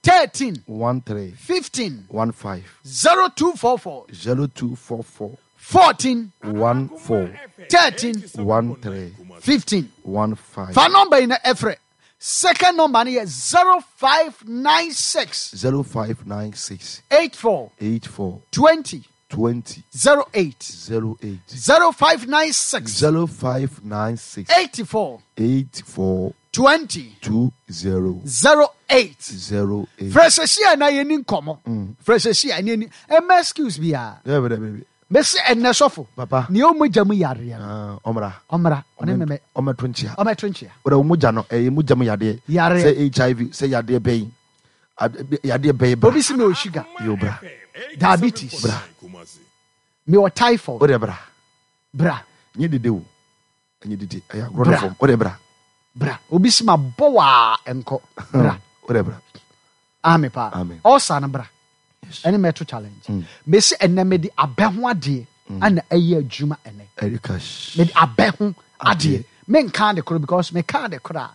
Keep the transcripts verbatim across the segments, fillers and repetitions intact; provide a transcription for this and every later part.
thirteen one three fifteen one five zero two four four zero two four four fourteen one four thirteen one three fifteen. one five Fa number yi na ɛfrɛ. Second number no yɛ zero five nine six zero five nine six eight four eight four twenty twenty zero eight zero eight zero five nine six zero five nine six eighty four eight four twenty two zero zero eight. zero eight. Frɛ sɛsi a na yɛni nkɔmmɔ. Frɛ sɛsi a na yɛni ɛmɛ excuse biara. Dɛbi dɛbi dɛbi. Mɛsi ɛnɛ sɔfo. Papa. Nea ɔmo mu yareɛ no. Ah, ɔmra. Ɔmmra ɔne mɛmɛ Ɔmɛto nkyia. Ɔmɛto nkyia. Wọ́n mu mogya no ɛyɛ mogya mu yadeɛ. Yareɛ. Sɛ H I V, sɛ yadeɛ bɛyi. Ad- Yadeɛ bɛyi bra. Obi si mi wɔ sugar. Yo, bra. Diabetes. Bra. Mi wɔ typhoid. O de bra. Bra. Nye dede o. Nye dede. Ɛyɛ agorɔ Bra. no fam. O de bra. Bra. Obi si ma bɔ waa nkɔ. Bra. O de bra. Amen paa. Amen. Ɔsa no bra. Ɛne mɛto challenge. Mesi ɛnɛ mede abɛ ho adeɛ ana ɛyɛ adwuma ɛnɛ. Erika. sh- Mede abɛ ho adeɛ. Adeɛ. Menka ade koro because meka ade koro a.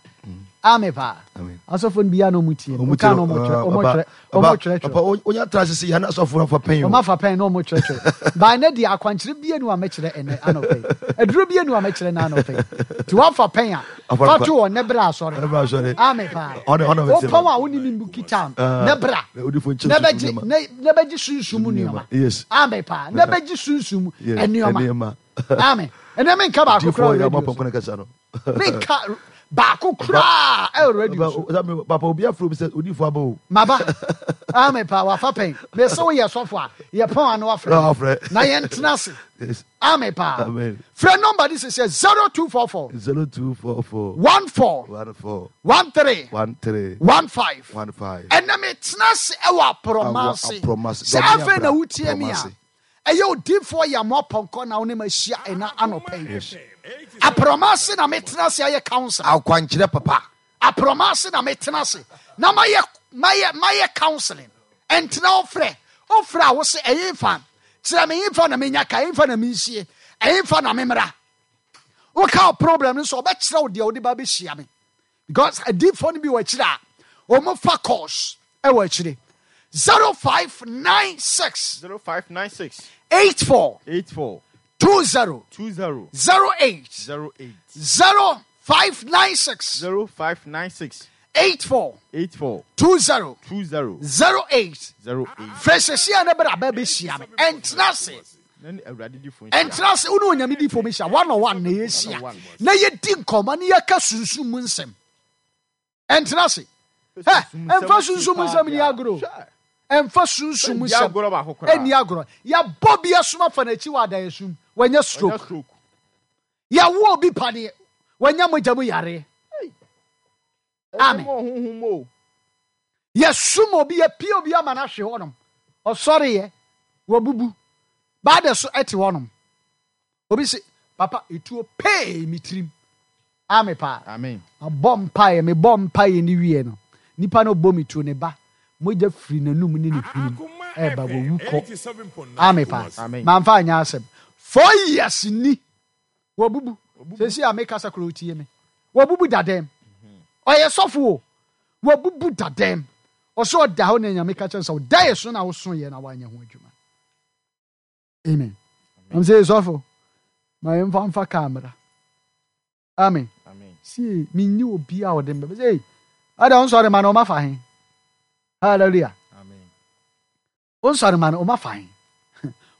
Amen paa. Amen. Asɔfo no biara na ɔmo tie. Ɔmo Ɔmo ka tie na ɔmo twerɛ ah, ɔmo papa, twerɛ ɔmo papa, twerɛtwerɛ. Papa, o- onya tra sisi yan asɔfo afa pɛn o. Ɔmo afa pɛn na ɔmo twerɛtwerɛ. Baa ne deɛ, akwankyerɛ bie nu a mɛkyerɛ ɛnɛ anɔpɛ yi. Aduro bie nu a mɛkyerɛ no anɔpɛ yi. Nti wafa pɛn a Afa fa pa- to wɔ ne berɛ asɔre. Ne bra asɔre. Amen paa. Ɔne- ɔne bɛtie Wopɔn ma. a wone ne mu kita Ah, ne bra. na odifo nkyɛn Ne sunsum bɛgye nneɛma. ne ne bɛgye sunsum mu nneɛma. Yes. Amen paa. Ne bɛgye sunsum mu Yes, nneɛma. nneɛma. Amen. Ɛnɛ menka baako Difoɔ koraa wɔ yɛ ɔmo radio apɔnkɔ so. ne kasa no. Menka baako koraa ɛwɔ radio so. Papa, papa, papa, obi afro bi sɛ odifo aba o. Maba. Amen paa. Wafa pɛn. Mese woyɛ sɔfo a yɛpɔn ano Na afrɛ. wafrɛ. Na yɛntena ase. Yes. Amen paa. Amen. Frɛ number de sɛ zero two four four Zero two four four one four one four one three one three one five. one five. Ɛnɛ metena ase ɛwɔ aprɔmase. Awɔ Aprɔmase. Sɛ Dɔm afei na abra wotie mi a, Aprɔmase. ɛyɛ odiifoɔ yɛ mo apɔnkɔ na wo ne ma ahyia ɛna anɔpɛ yi. Aprɔmase na metena ase ayɛ counsel. Akwankyerɛ papa. Aprɔmase na metena ase na mayɛ mayɛ mayɛ counseling. Ɛntena wofrɛ wofrɛ a wo se ɛyɛ mfa kyerɛ me yɛmfa na menya ka, ɛyɛmfa na mensie, ɛyɛmfa na memmra. Woka wo problem no so, ɔbɛkyerɛ wo deɛ wode ba bɛhyia me because adiifoɔ no bi wɔ akyire a ɔmo fa course ɛwɔ akyire. zero five nine six Zero five nine six eight four eight four two zero two zero zero eight zero eight zero five nine six zero five nine six eight four eight four two zero two zero zero eight. zero eight. Frɛ sɛsia ne berɛ aba bɛhyia me. Ɛntena ase. Na ne Awurade di fo nhyia. Ɛntena ase. Wo ne Onyame difo bɛhyia one on one na yɛhyia One on one. na yɛdi nkɔmmɔ na yɛka sunsum mu nsɛm. Ɛntena ase. Hɛ, ɛmfa sunsum mu nsɛm ni agorɔ. Hwɛ. Ɛmfa sunsum mu Ɛnni nsɛm agorɔ baako koraa. ɛnni agorɔ. Yɛbɔ bi asoma fa n'akyi wɔ adayɛsum, wanya Ɔnya stroke. Stroke. Yɛwo obi paneɛ, wanya mogya mu yareɛ. Amen. Ɛnyɛ mɔ honhom o. Yɛsum obi, yɛpie obi ama no ahwe hɔnom, ɔsɔreyɛ wabubu baada so ɛte hɔnom. Obi se, "Papa, etuo pee me tirim." Ame paa. Amen. Abɔ mpaeɛ, mebɔ mpaeɛ ne wie no, nipa no bɔ me tuo, ne ba mogya firi n'anum ne ne hwenem ɛɛba, wɔwu kɔ. Ame paa. Amen. Mamfa anyɛ asɛm. Four years ni wabubu. Sɛsi a mekasa koro tie me, wabubu dadɛm. Ɔyɛ sɔfo o, wabubu dadɛm. Ɔsɛ ɔda hɔ na Nyame ka kyerɛ no sɛ ɔda yɛ so na woso yɛ na woanyɛ ho adwuma. Amen. Am sɛ sɔfo ma yɛmfa mfa kaa mmra. Amen. Amen. Sie menni obi a ɔde mbɛ sɛ ada ɔnsɔre ma no ɔma fa he. Hallelujah. Amen. Ɔnsɔre ma no ɔma fa he.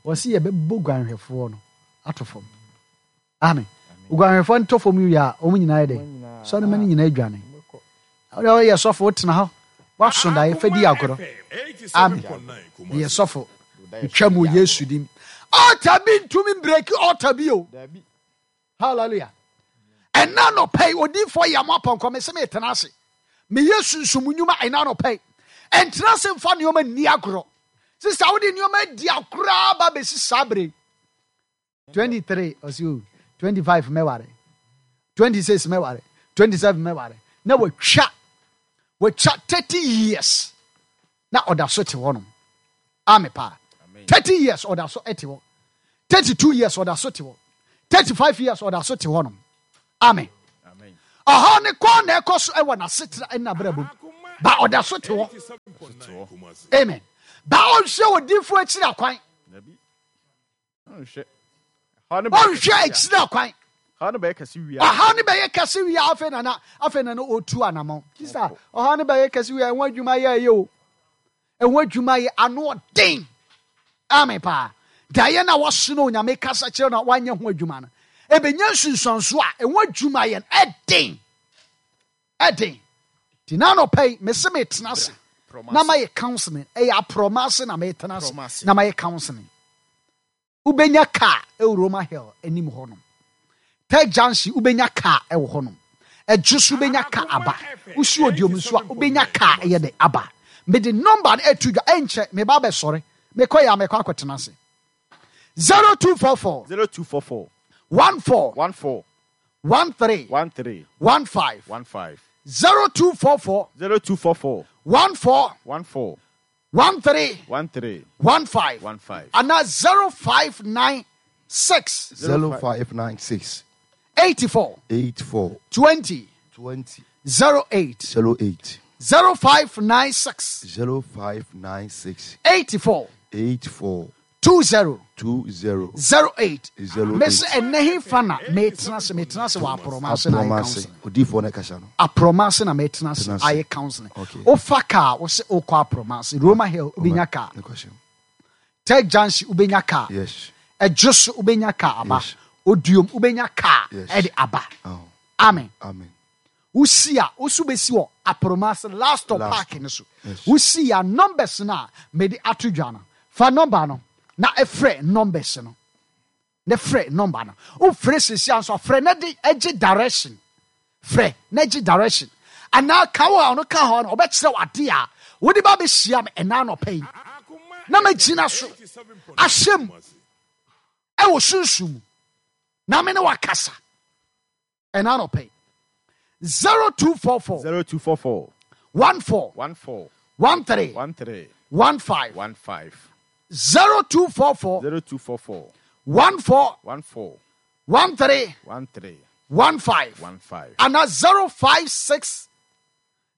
Ɔse yɛbɛbɔ guanhwɛfoɔ no ato fam. Amen. Guanhwɛfoɔ no tɔ fam wie a, ɔmo nyinaa yɛ dɛ sɔre ma no nyinaa adwane. Wode ɔyɛ sɔfo, wotena hɔ woaso daeɛ fa di agorɔ. Amen. Meyɛ sɔfo, metwa mu wɔ Yesu dim. Altar bi ntumi break altar bi o. Dabi. Hallelujah. Ɛna nɔpɛ yi, odiifoɔ yɛ mo apɔnkɔ me sɛ metena ase meyɛ sunsum nnwuma. Ɛna nɔpɛ yi, ɛntena ase mfa nneɔma nni agorɔ. Sista, wode nneɔma adi agorɔ ba bɛsi saa bere twenty-three, ɔsi o twenty-five mɛware, twenty-six mɛware, twenty-seven mɛware, na watwa watwa thirty years na ɔda so te hɔnom. Ame paa. thirty years ɔda so te hɔ, thirty-two years ɔda so te hɔ, thirty-five years ɔda so te hɔnom. Amen. Ɔhɔ ne kɔn na ɛkɔ so ɛwɔ n'asetena ɛna abrabɔ mu. Ba ɔda so te hɔ. Amen. Ba ɔnhwɛ odiifo akyiri akwan. Ɔnhwɛ. Ɔnhwɛ akyiri akwan. Ɔhaw no bɛyɛ kɛse wia. Ɔhaw no bɛyɛ kɛse wia afei nana afei nana otu anamɔ. Sisa ɔhaw no bɛyɛ kɛse wia ɛho adwuma yɛ ɛyɛ o. Ɛho adwuma yɛ ano ɔden. Amen paa. Daeɛ na wɔso no Onyame kasa kyerɛ na wanyɛ ho adwuma no. Ebenya nsunsuanso a ɛho adwuma yɛ ɛden. Ɛden. Ti na anɔpa yi mese metena ase. Na ma yɛ counseling. Ɛyɛ aprɔma ase na metena ase. Na ma yɛ counseling. Ubenya car ɛwɔ Roma Hill anim hɔ nom. Tech Junction ubenya car ɛwɔ hɔ nom. Ɛdwo so ubenya car aba. Usi odiom nso a ubenya car ɛyɛ de aba. Mede number no ɛto dwa ɛnkyɛ me ba bɛsɔre. Mekɔ yɛ a mekɔ akɔtena ase. zero two four four zero two four four one four one four one three one three one five one five zero two four four zero two four four one four one four one three one three one five one five and zero five nine six zero five nine six eighty four eight four twenty twenty zero eight zero eight zero five nine six zero five nine six eighty four eight four two zero two zero zero eight zero Mese eight. ɛnɛ he fa na metena se metena se wɔ aprɔma ase na ayɛ Aprɔma ase. counseling. Odiifoɔ no kasa no. Aprɔma ase na metena se Tena ase. ayɛ counseling. Okay. Wofa car wo se wokɔ aprɔma ase Roma Hill wobɛnya car. Ne question. Tech Junction wobɛnya car. Yes. Ɛdwo so wobɛnya car aba. Yes. Oduom wobɛnya car Yes. ɛde aba. Oh. Amen. Amen. Wosi a wosu bɛsi wɔ aprɔma ase last stop Last park no so. Yes. Wosi a numbers no a mede ato dwa no. Fa number no na ɛfrɛ numbers no. Ne frɛ number no. Wofrɛ sisi anso frɛ na de agye direction. Frɛ na agye direction. Anaa ka wo a ɔno ka hɔ no ɔbɛkyerɛ wo ade a wode ba bɛhyia me ɛna anɔpa yi. Na magyina so ahyɛ mu ɛwɔ sunsum mu na me ne wakasa ɛna anɔpa yi. zero two four four zero two four four one four one four one three one three one five one five zero two four four zero two four four one four one four one three one three one five one five and zero five six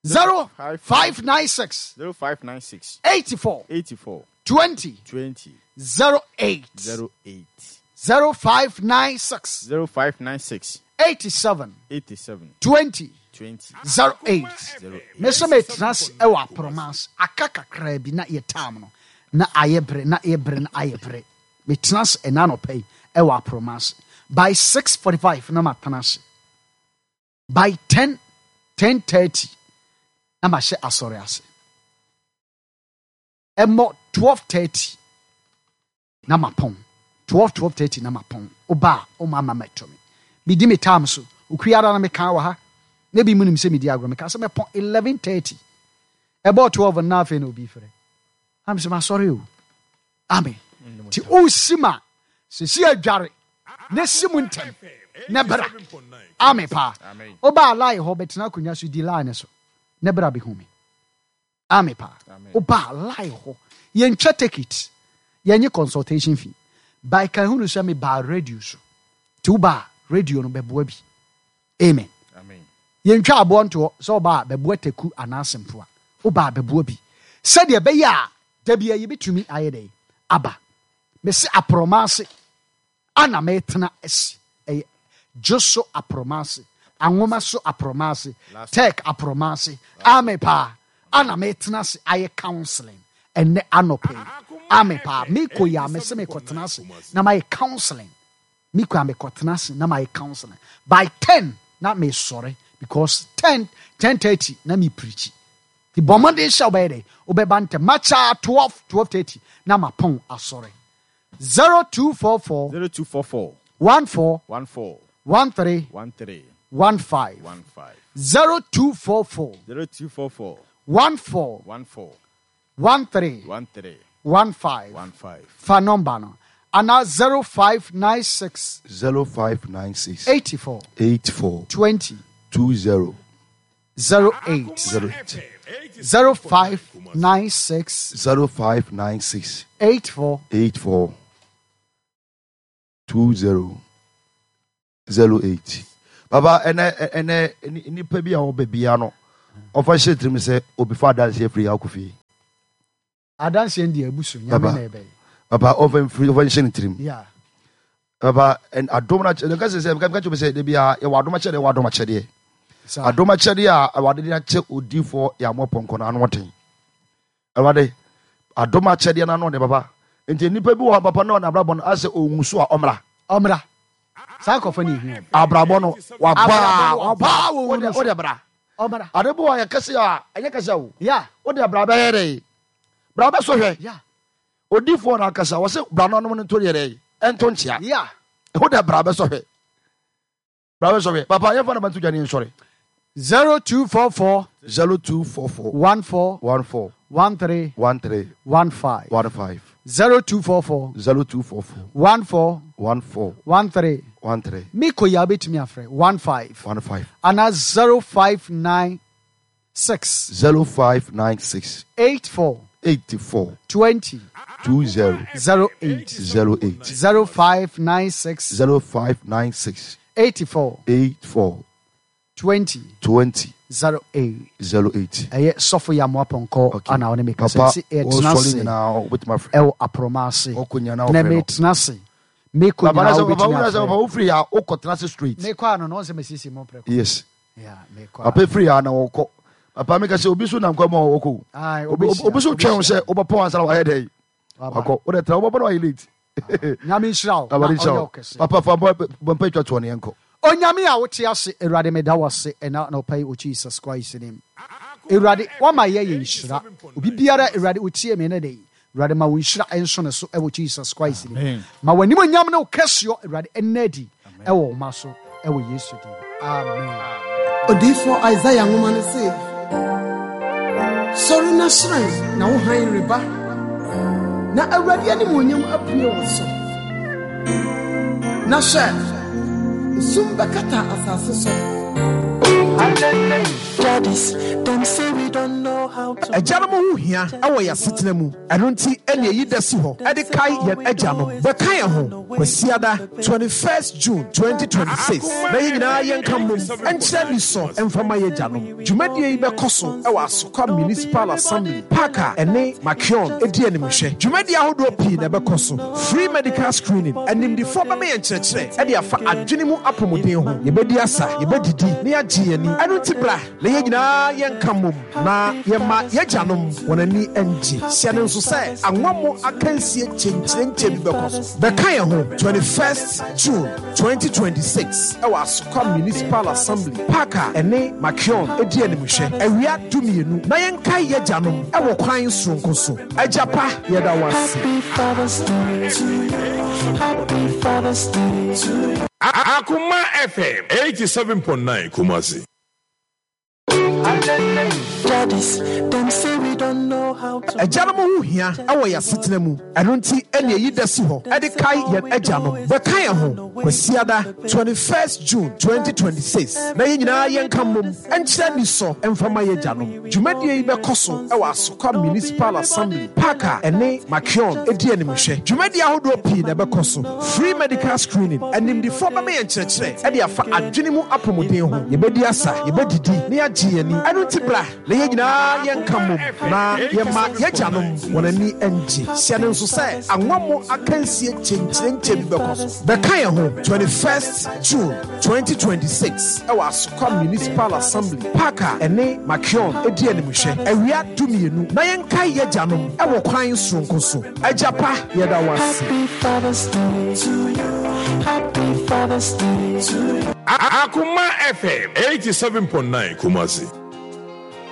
zero five nine six zero five nine six eighty four eighty four twenty twenty zero eight zero eight zero five nine six zero five nine six eighty seven eighty seven twenty twenty zero eight. zero eight. Mese metena ase ɛwɔ aprɔma ase aka kakra bi na yɛ tam no na ayɛ bere na ayɛ bere na ayɛ bere metena ase ɛna anɔpa yi ɛwɔ aprɔma ase by six forty five na matena ase by ten ten thirty na mahyɛ asɔre ase ɛmmɔ twelve thirty na mapɔn twelve twelve thirty na mapɔn ɔba a ɔma ama mɛtɔ me medi me time so okuara na meka wɔ ha na bi mu nim sɛ medi agorɔ meka sɛ mɛpɔn eleven thirty ɛbɔ twelve na afei na obi frɛ am sɛ masɔre o amen nti wosi ma sɛsi adware na si mu ntɛm na bra amen paa Amen. wobaa line hɔ bɛtena akonnwa so di line so na bra bɛhu me amen paa Amen. wobaa line hɔ yɛntwa ticket yɛnye consultation fee by ka hunu sɛ mebaa radio so nti wobaa radio no bɛboa bi amen Amen. yɛntwa aboɔ ntoɔ sɛ wobaa bɛboa taku anaasɛ mpoa wobaa bɛboa bi sɛdeɛ ɛbɛyɛ a da bia yɛbɛtumi ayɛ dɛ aba mese aprɔma ase ana metena asi ɛyɛ dwo so aprɔma ase anwoma so aprɔma ase tech aprɔma ase ame paa ana metena ase ayɛ counseling ɛnɛ anɔpa yi ame paa mekɔ yi a mese mekɔtena ase na mayɛ counseling mekɔ a mekɔtena ase na mayɛ counseling by ten na mesɔre because ten ten thirty na mepreachi nti bɔ mmɔden hyɛ wobɛyɛ dɛ wobɛba ntɛm makyaa twelve twelve thirty na mapɔn asɔre zero two four four Zero two four four one four one four one three one three one five one five zero two four four zero two four four one four one four one three one three one five one five fa number no anaa zero five nine six zero five nine six eighty four eight four twenty two zero zero eight zero eight zero five nine six zero five nine six eight four eight four two zero zero eight. Baba ɛnɛ ɛnɛ nipa bi a wɔbɛ bia no Ɔfa hyɛ tirim sɛ obi fa adanseɛ firi yɛ akɔ fie. Adanseɛ ndi abusu nyame Papa. na ɛbɛyɛ. Papa, ɔfa mfiri, ɔfa nhyɛ ne tirim. Yeah. Papa, ɛn adom na kyɛ nka sɛ sɛ nka kyerɛ sɛ de bia yɛwɔ adom akyɛdeɛ, yɛwɔ adom akyɛdeɛ. Saa. Adom akyɛdeɛ a Awurade de akyɛ odiifoɔ yɛ amoa pɔnkɔ no ano ɔden. Awurade adom akyɛdeɛ no ano ɔden papa. Nti nnipa bi wɔ hɔ papa na ɔna abrabɔ no asɛ ohun so a ɔmmra. Ɔmmra. Saa nkɔfo ne ehia. Abrabɔ no wabaa Abrabɔ no wabaa wɔ wode wunu so. wode bra. Ɔmmra. Ade bi wɔ yɛ kɛse a ɛnyɛ kɛse o. Yeah. Wode bra bɛyɛ dɛ. Bra bɛsɔ hwɛ. Yeah. Odiifoɔ no ankasa wɔsɛ bra no anom no nto deɛ dɛ ɛnto nkyea. Yeah. Wode bra bɛsɔ hwɛ. Bra bɛsɔ hwɛ. Papa, yɛmfa no banto dwa ne nsɔre. zero two four four zero two four four one four one four one three one three one five one five zero two four four zero two four four one four one four one three one three Miko ya betumi afrɛ one five one five ana zero five nine six zero five nine six eight four eighty four twenty two zero zero eight zero eight zero five nine six zero five nine six eighty four eight four twenty twenty zero eight zero eight. Ɛyɛ sɔfo yɛ amoa pɔnkɔ Okay. ana ɔne meka sɛ Papa, sɛ ɛtena wɔsɔre ase nyinaa wobɛtumi afrɛ. ɛwɔ aprɔma ase Ɔkɔ nyinaa na wofrɛ no. metena ase mekɔ Papa, na nyinaa sɛ papa wobɛtumi wona sɛ papa afrɛ wofiri ha wokɔtena ase straight. Mekɔ ano no ɔnsɛ mesiesie mɔ prɛko. Yes. Yeah, mekɔ Papa firi ha na wɔkɔ. Papa, meka sɛ obi so nam kwan mu a wɔkɔ o. Aye, Obi obehyia, obi so twɛn wo sɛ obehyia. wobɛpɔn ansa na wayɛ dɛ. Waba. Wakɔ. Wode tena wobɛbɔ na wayɛ late. Nyame nhyira wo na Awurade nhyira ɔnyɛ wo. wo kɛse. Papa, fa bɔ bɔ mpa twa toɔ ne yɛnkɔ. Onyame a wote ase, Awurade, meda wo ase ɛna anɔpa yi wɔ Jesus Christ nim. Awurade, wama yɛ yɛ nhyira obi biara. Awurade, wotie me ne de, Awurade, ma wo nhyira ɛnso ne so ɛwɔ Jesus Christ nim. Amen. Ma w'anim onyam ne wo kɛseɔ, Awurade, ɛnna adi ɛwɔ wo ma so ɛwɔ Yesu din, amen. Odiyifoɔ Isaia nwoma no se, sɔre na hyerɛn, na wo hann reba, na Awurade animuonyam apue wo so. Na hwɛ, esum bɛkata asase so. Daddies, them say we don't know how to. Agyanom ho hia ɛwɔ yɛn asetena mu. Ɛno nti ɛne ɛyi da si hɔ ɛde kae yɛn agyanom. Bɛka yɛn ho Kwasiada twenty-first June twenty twenty-six na yɛn nyinaa yɛnka mmom ɛnkyerɛ ni sɔ ɛmfama yɛ agyanom. Dwumadie yi bɛkɔ so ɛwɔ Asokwa Municipal Assembly Park a ɛne Makion ɛdi animhwɛ. Dwumadie ahodoɔ pii na ɛbɛkɔ so: free medical screening, animdifoɔ bɛma yɛn nkyerɛkyerɛ ɛde afa adwene mu apɔmuden ho, yɛbɛdi asa, yɛbɛdidi na yɛagye yɛn ani. Ɛno nti bra na yɛn nyinaa yɛnka mmom na yɛma yɛgyanom wɔn ani ngye. Hyɛ no nso sɛ anwammo akansie kyenkyerenkyɛ bi bɛkɔ so. Bɛka yɛn ho twenty-first June twenty twenty-six ɛwɔ Asokwa Municipal Assembly Park a ɛne Makion ɛdi animhwɛ awia dumienu na yɛnkae yɛgyanom ɛwɔ kwan soronko so. Agya pa, yɛda wo ase. Happy Father's Day to you. Happy Father's Day to you. Akuma F M eighty-seven point nine Kumasi. Daddies, them say we don't know how to. Agyanom ho hia ɛwɔ yɛn asetena mu. Ɛno nti ɛne ɛyi da si hɔ ɛde kae yɛn agyanom. Bɛka yɛn ho Kwasiada twenty-first June twenty twenty-six na yɛn nyinaa yɛnka mmom ɛnkyerɛ ni sɔ ɛmfama yɛ agyanom. Dwumadie yi bɛkɔ so ɛwɔ Asokwa Municipal Assembly Park a ɛne Makion ɛdi animhwɛ. Dwumadie ahodoɔ pii na ɛbɛkɔ so: free medical screening, animdifoɔ bɛma yɛn nkyerɛkyerɛ ɛde afa adwene mu apɔmuden ho, yɛbɛdi asa, yɛbɛdidi na yɛagye yɛn ani. Ɛno nti bra na yɛn nyinaa yɛnka mmom na yɛma yɛgyanom wɔn ani ngye. Hyɛ no nso sɛ anwammo akansie kyenkyerenkyɛ bi bɛkɔ so. Bɛka yɛn ho twenty-first June twenty twenty-six ɛwɔ Asokwa Municipal Assembly Park a ɛne Makion ɛdi animhwɛ awia dumienu na yɛnkae yɛgyanom ɛwɔ kwan soronko so. Agya pa, yɛda wo ase. Happy Father's Day to you. Happy Father's Day to you. Akuma F M eighty-seven point nine Kumasi.